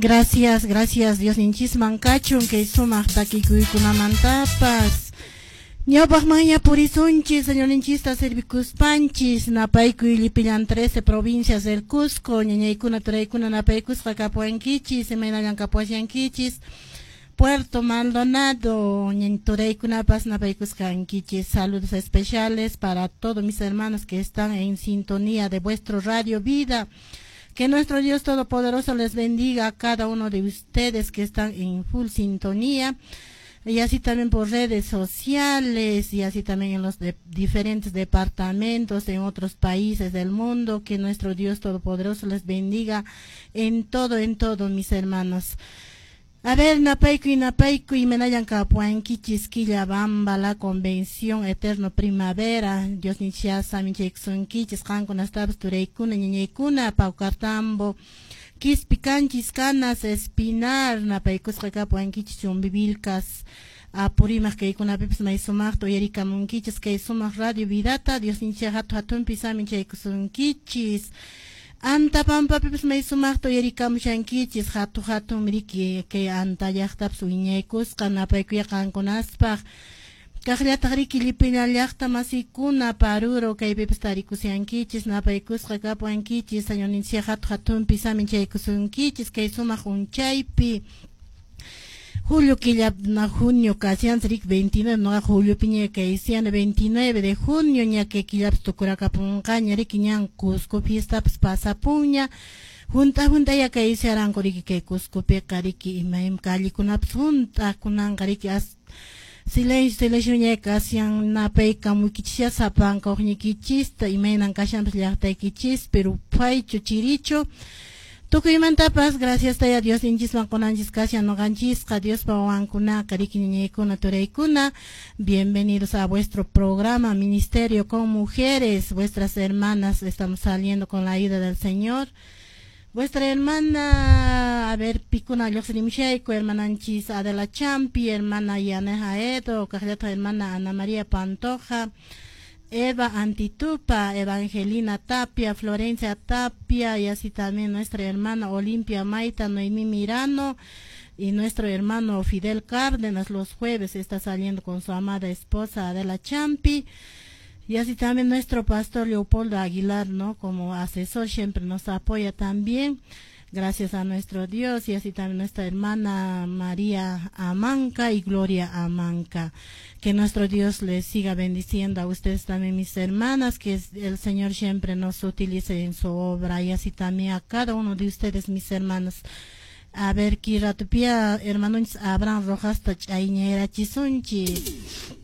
Gracias, gracias Diosninchisman kachun kay sumaq takikuykunamantapas. Ñawpaqmanña purisunchis, Señorninchista servikuspanchis, napaykuy llipillan 13 provincias del Cusco, ñañaykuna turaykuna napaykusqa kapuwankichis, imaynallan kapuwashankichis. Puerto Maldonado, turaykunapas napaykusqankichis. Saludos especiales para todos mis hermanos que están en sintonía de vuestro Radio Vida. Que nuestro Dios Todopoderoso les bendiga a cada uno de ustedes que están en full sintonía y así también por redes sociales y así también en los diferentes departamentos en otros países del mundo. Que nuestro Dios Todopoderoso les bendiga en todo, mis hermanos. A ver, napaykuy, napaykuy, imaynallan kapuwankichis Quillabamba, la Convención Eterno Primavera, Diosninchis saminchaykusunkichis, qankunastapas turaykuna, ñañaykuna, Paucartambo, Quispicanchis, Canas, Espinar, napaykusqa kapuwankichis, Chumbivilcas, Apurímac kaykunapipas may sumaqta uyarikamunkichis kay sumaq Radio Vidata, Diosninchis hatu hatunpi saminchaykusunkichis. Antapampapipas may sumaqta uyarikamushankichis, hatu hatun riki kay Anta llaqtapas wiñaykusqa, napaykuya qankunaspaq. Kaqllataq riki llipillan llaqta masikuna Paruro kaypipas tarikushankichis, napaykusqa kapuwankichis, Señorninchis hatu hatunpi saminchaykusunkichis kay sumaq unchaypi. Julio killa na junio kashan rik 29 no julio piña kaysian 29 de junio ña que killapas tukurakapunqaña riki ñan Cusco fiestapas pasapunña junta junta ya kaysiaranku riki kay Cuscopiqa riki imayma callekunapas junta kunanqa riki as silencio silencio ña kashan napaykamuykichis sapanka uqñiykichista imaynan kashanpas llaqtaykichis pero phaychu chirichu. Tukuymantapas gracias taya Diosninchisman qunanchis kashan ñuqanchisqa Diospa wawankunaqa riki ñañaykuna turaykuna. Bienvenidos a vuestro programa Ministerio con Mujeres, vuestras hermanas estamos saliendo con la ayuda del Señor. Vuestra hermana, a ver, pikuna lluqsirimushayku, hermananchis Adela Champi, hermana Yaneja Edo, kaqllataq hermana Ana María Pantoja, Eva Antitupa, Evangelina Tapia, Florencia Tapia, y así también nuestra hermana Olimpia Maita, Noemí Mirano, y nuestro hermano Fidel Cárdenas los jueves está saliendo con su amada esposa Adela Champi, y así también nuestro pastor Leopoldo Aguilar, ¿no? Como asesor siempre nos apoya también, gracias a nuestro Dios, y así también nuestra hermana María Amanca y Gloria Amanca. Que nuestro Dios les siga bendiciendo a ustedes también, mis hermanas, que el Señor siempre nos utilice en su obra, y así también a cada uno de ustedes, mis hermanas. A ver, kiratupia, hermanos Abraham Rojas, ch'ayñayrachisunchis.